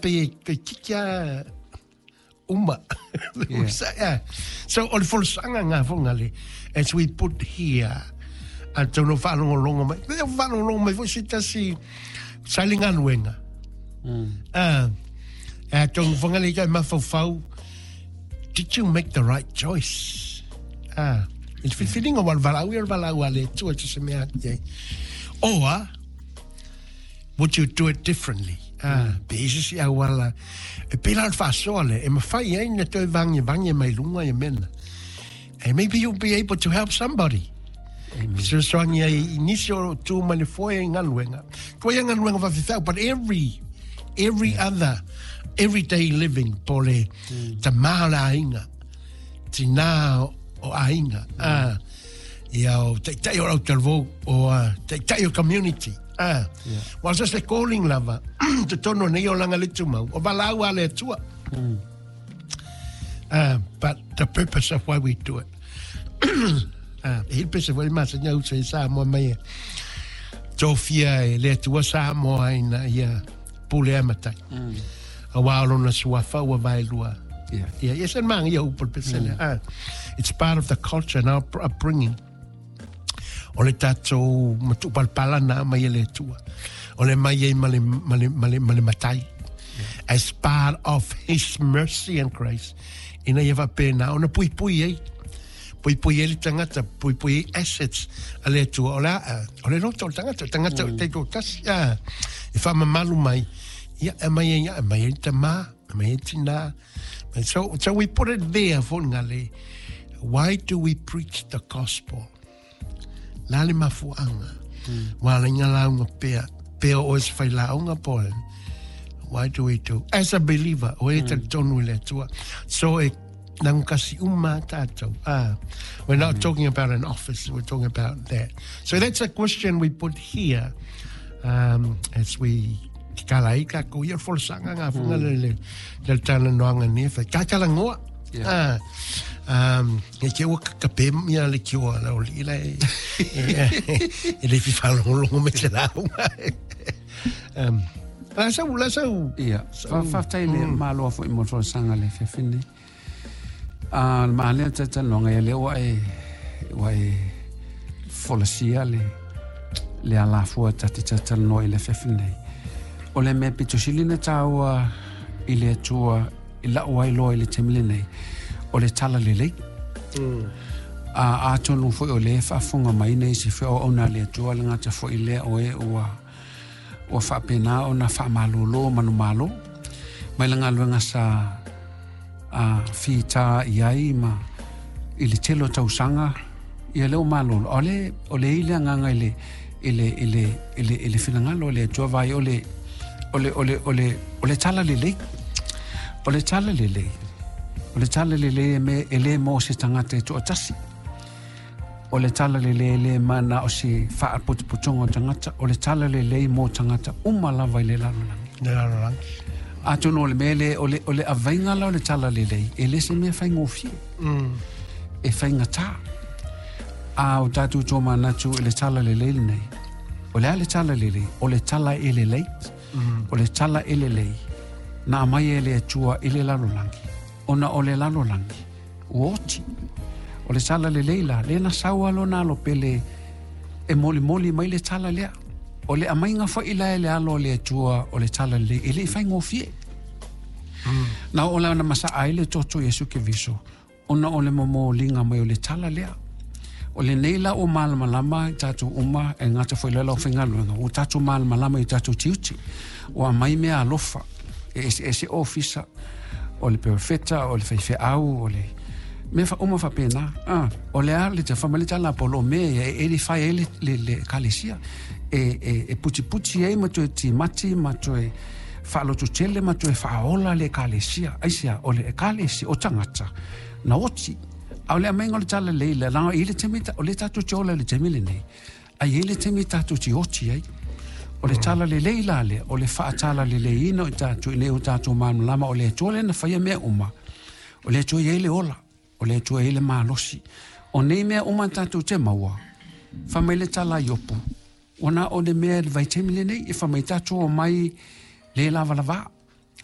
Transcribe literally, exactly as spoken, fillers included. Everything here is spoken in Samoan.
pe e tikia uma. Yeah. So, o le folasaga ngā fonga le, as we put here, a tauno whaalongolongo mai, me whaalongolongo mai fo se tasi sa le galuega. Ah, a tauno fonga le kai mafaufau, did you make the right choice? Ah, i le filifiliga ua le valaau ia o le valaau a le Atua te se mea atu ai. Or, would you do it differently? Ah, pe isi si auala, e pela o le faasoa le, e mafai ai na toe vagevaге mai luga ia mena. And maybe you'll be able to help somebody. Fesoasoani ai i nisi o tu mai le foe i galuega. Koe ia galuega faafefeau, but every, every other, everyday living, po le tamā o le aiga, tinā o aiga, ah, ia o taitai o autalavou, o uh, taitai o community. Ah, yeah. Well, just le calling lava, te tono nei o langa le tumau, o valaau a le Atua. Uh, but the purpose of why we do it. Ah, e hili pese foi masa nya uso i Samoa mai e tofia e le Atua Samoa ina ia pule a matai. A wā o lona suafa ua vaelua. Yeah. Yeah, yes, and mang ia upu le pesele. Ah, it's part of the culture and our upbringing. O le tātou matupalapala na mai e le Atua. O le mai ei ma le, ma le, ma le, ma le matai. As part of his mercy and grace. Ina ia faapena, ona puipui ai. Puipui ai le tagata, puipui ai assets a le Atua. O le, a, o le loto o le tagata, o le tagata o te tasi, ah, e whaamamalu mai. Ia, e mai ai, e mai ai tamā, e mai ai tinā. And so, so we put it there for ngale. Why do we preach the gospel? La le mafuanga. Wa le nga launga pea, pea o se whai launga po. Why do we do? As a believer, o e talitonu i le Atua. So e nangu kasi uma tātou. Ah, we're not talking about an office, we're talking about that. So that's a question we put here um, as we kala i ka ko ia folasaga ngā funga le le le tala noanga ni fa ka kala ngoa. Yeah. Ah, um, e ke ua ka pe ia le kioa la o li la e e le fi whalongolongo me te launga. Um, la sau, la sau. Ia, fa faafetai le Malo foi mo le folasaga le fiafine. A le maanea tatalanoaga ia lea ua e ua e folasia le le alafua ta te tatalanoa i le afiafi nei. O le mea pitosili na tāua i le Atua i la'u ai loa i le taimi lenei, o le talalelei. A atonu foi o le faafofoga mai nei se feauauna a le Atua le gata foi lea o e ua ua faapena ona faamalōlō manumalo mai le galuega sa a fita i ai ma i le tele o tausaga ia lea ua malolo. O le o le i le agaga i le i le i le i le i le finagalo o le Atua vai o le o le o le o le o le talalelei. O le talalelei. O le talalelei e me e le mo se tagata e toatasi. O le talalelei e le mana o se faaputuputuga o tagata. O le talalelei mo tagata uma lava i le lalolagi. Le lalolagi. Atonu o le mea le o le o le avaiga la o le talalelei e le se mea faigofie. Mm. E faigatā. A o tatou tomanatu i le talalelei lenei. O le a le talalelei, o le tala e lelei. Mm. O le tala e lelei. Na aumai e le Atua i le lalolagi. Ona o le lalolagi, ua oti. O le talalelei la, le na sau a lona alo pele e molimoli mai le tala lea. O le aumaiga foi la e le alo o le Atua o le talalelei, e le i faigofie. Na o la na masaa ai le toto Iesu Keriso, ona o le momoliga mai o le tala lea. O lenei la o malamalama i tatou uma e gata foi le lau faigaluega, ua tatou malamalama i tatou tiute. Ua aumai mea alofa, e eseese ofisa, o le perofeta, o le faifeau, o le mea fa uma faapena. Ah, o le a le tafa mai le tala a Paulo o mea ia e edify ai le, le, le ekalesia. E, e, e putiputi ai ma toe timati ma toe faalototele ma toe faaola le ekalesia. Aisea, o le ekalesia, o tagata, na oti. A o le aumaiga o le talalelei le laga i le taimi o le tatou te ola i le taimi lenei. Ai e le taimi tatou te oti ai. O le talalelei la lea, o le faatalaleleina o i tatou ina ia o tatou malamalama o le Atua lea na faia mea uma. O le Atua e iai le ola, o le Atua e iai le malosi. O nei mea uma tatou te maua, fai mai le tala a Iopu. Ona o le mea i le vaitaimi lenei, e fai mai tatou omai le lavalavā.